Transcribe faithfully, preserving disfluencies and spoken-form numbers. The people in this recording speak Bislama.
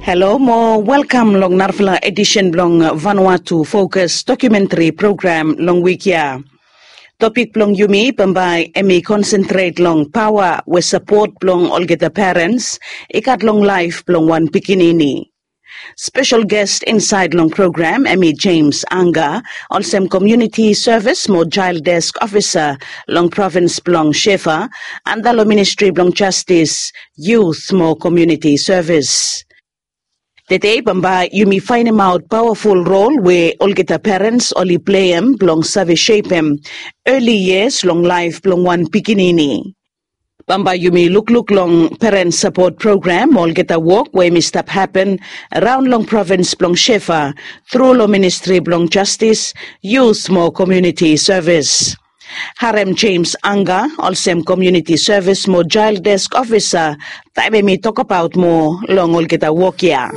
Halo mo welkam long narafala edisen blong Vanuatu Fokus dokumentri program long wik ya. Topik blong yumi bambae em i konsentret long paoa we sapot blong olgeta perens i gat long laef blong wan pikinini. Spesel gest insaed long program em i James Anga, olsem komiuniti sevis mo jael desk ofisa long provins blong Shefa, anda long ministri blong jastis, yut mo komiuniti sevis. Tede bambae yumi faenemaot paoaful rol we olgeta perens oli pleim blong save sepem eli yias long laef blong wan pikinini. Bambae yumi lukluk long peren sapot program mo olgeta wok we em i stap hapen raon long provins blong Shefa tru long ministri blong jastis, yut mo komiuniti sevis. Harem James Anga olsem komiuniti sevis mo jael desk ofisa taem em i tokbaot moa long olgeta wok ya.